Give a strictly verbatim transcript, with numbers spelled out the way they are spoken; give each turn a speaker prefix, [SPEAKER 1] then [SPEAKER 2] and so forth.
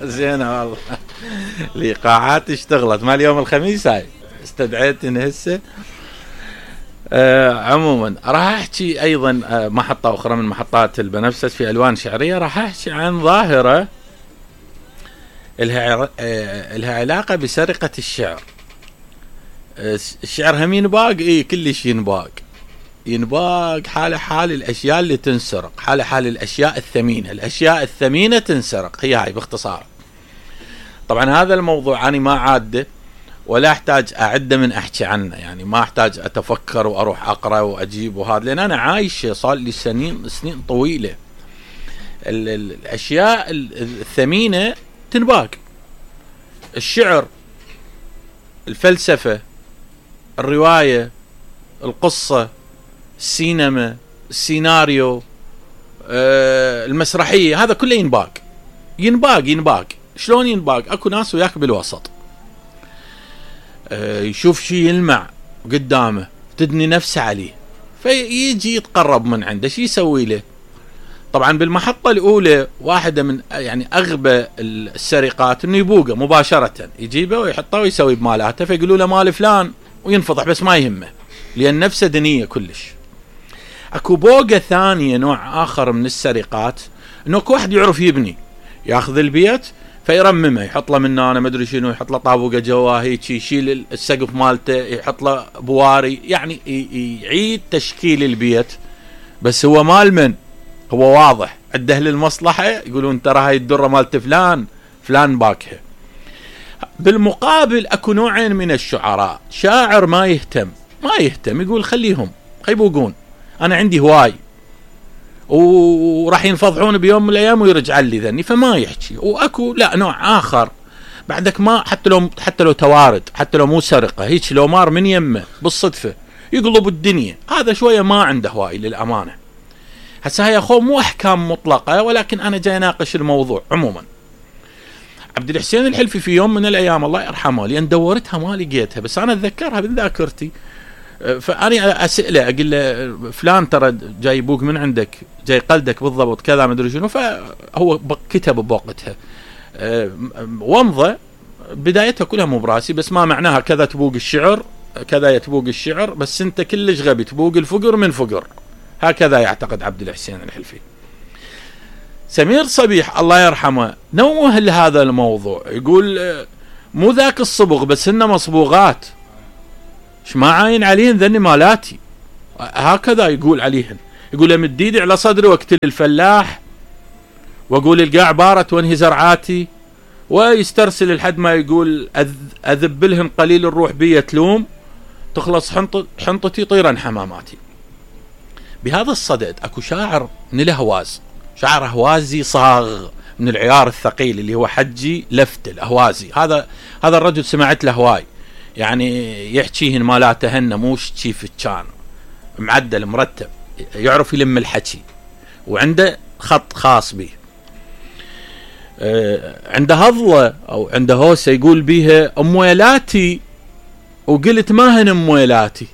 [SPEAKER 1] زين والله. الايقاعات اشتغلت مال يوم الخميس هاي استدعيتني هسه. آه عموما راح احكي ايضا آه محطة اخرى من محطات البنفسج في الوان شعرية. راح احكي عن ظاهرة الها آه الها علاقة بسرقة الشعر. آه الشعر هم ينباق، اي كلش ينباق ينباق حال حال الاشياء اللي تنسرق، حال حال الاشياء الثمينة. الاشياء الثمينة تنسرق، هي هاي باختصار. طبعا هذا الموضوع انا ما عاده ولا احتاج اعده من احكي عنه، يعني ما احتاج اتفكر واروح اقرا واجيب وهذا، لان انا عايش صار لي سنين سنين طويله. ال ال الاشياء الثمينه تنباق، الشعر، الفلسفه، الروايه، القصه، السينما، السيناريو، آه المسرحيه، هذا كله ينباق ينباق ينباق. شلون ينباق؟ اكو ناس وياك بالوسط آه يشوف شيء يلمع قدامه تدني نفسه عليه، فيجي يتقرب من عنده. شي يسوي له؟ طبعا بالمحطة الاولى واحدة من يعني اغبى السرقات انه يبوقه مباشرة، يجيبه ويحطه ويسوي بمالاته، فيقولوا له مال فلان وينفضح، بس ما يهمه لان نفسه دنية كلش. اكو بوقة ثانية، نوع اخر من السرقات، انه اكو واحد يعرف يبني، ياخذ البيت فيرممه، يحط له من انا ما ادري شنو، يحط له طابوقه جواه هيك، يشيل السقف مالته، يحط له بواري، يعني يعيد تشكيل البيت. بس هو مال من؟ هو واضح عنده للمصلحه، يقولون ترى هاي الدره مالت فلان فلان باكها. بالمقابل اكو نوعين من الشعراء، شاعر ما يهتم ما يهتم يقول خليهم يبوقون، انا عندي هواي وراح ينفضحون بيوم من الايام ويرجع لي ذني، فما يحكي. واكو لا نوع اخر بعدك، ما حتى لو حتى لو توارد، حتى لو مو سرقه، هيك لو مار من يمه بالصدفه يقلب الدنيا، هذا شويه ما عنده هواي للامانه. هسه هاي اخو مو احكام مطلقه، ولكن انا جاي اناقش الموضوع. عموما عبد الحسين الحلفي في يوم من الايام الله يرحمه، لان دورتها ما لقيتها بس انا اتذكرها من ذاكرتي، فاني اساله اقول له فلان ترى جاي يبوق من عندك، جاي قلدك بالضبط كذا ما ادري شنو. فهو كتب بوقتها ومضه بدايتها كلها مو براسي، بس ما معناها كذا تبوق الشعر كذا تبوق الشعر، بس انت كلش غبي تبوق الفقر من فقر، هكذا يعتقد عبد الحسين الحلفي. سمير صبيح الله يرحمه نوه لهذا الموضوع، يقول مو ذاك الصبغ بس هن مصبوغات، ايش ما عاين عليهن ذني مالاتي، هكذا يقول عليهن. يقول مد ايدي على صدري واقتل الفلاح، واقول القاع بارت وانهي زرعاتي، ويسترسل لحد ما يقول اذب لهم قليل الروح بي تلوم، تخلص حنط حنطتي طيرا حماماتي. بهذا الصدد اكو شاعر من الاهواز، شاعر اهوازي صاغ من العيار الثقيل اللي هو حجي لفت الاهوازي. هذا هذا الرجل سمعت له هواي، يعني يحكيهن مالاته هن موش تشيف كان معدل مرتب، يعرف يلم الحكي، وعنده خط خاص به. آه عنده هضلة او عنده هوسة يقول بيها امويلاتي، وقلت ما هن امويلاتي،